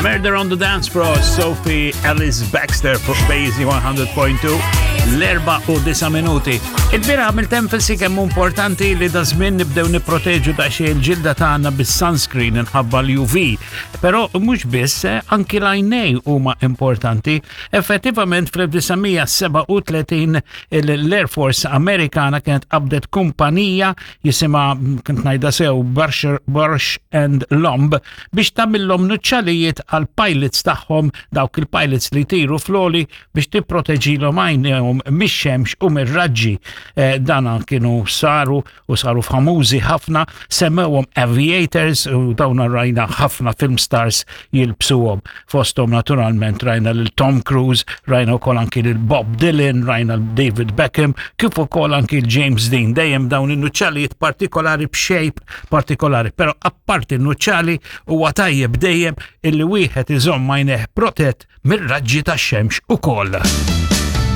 Murder on the Dance Floor, Sophie Alice Baxter fuq Basie 100.2 l-erba u disa minuti. Il-bira għamilt enfasi kemm importanti li da żmien nibdew nipproteġu daqsxejn il-ġilda tagħna bis-sunscreen inħabba l-UV. Però mhux biss, eh, anki l-għajnej huma importanti. Effettivament fl-1937 l-Air Force Amerikana kienet qabdet kumpanija jisimha kont ngħidha sew Barsh and Lomb biex tagħmilhom nuċċalijiet għal pilots tagħhom dawk il-pilots li jtiru floli biex tipproteġilhom għajnejhom mix-xemx u mir-raġġi. Eh, dana kienu saru u saru famużi ħafna, semmewhom aviators u dawn rajna ħafna film stars jilbsuhom. Fosthom naturalment rajna lil Tom Cruise, rajna wkoll anki lil Bob Dylan, rajna lil David Beckham, kif ukoll anki l James Dean. Dejjem dawn in-nuċċalijiet partikolari b'shape partikolari, però apparti n-nuċċali huwa tajjeb dejjem illi wieħed iżomm għajnejh protett mir-raġġi tax-xemx ukoll.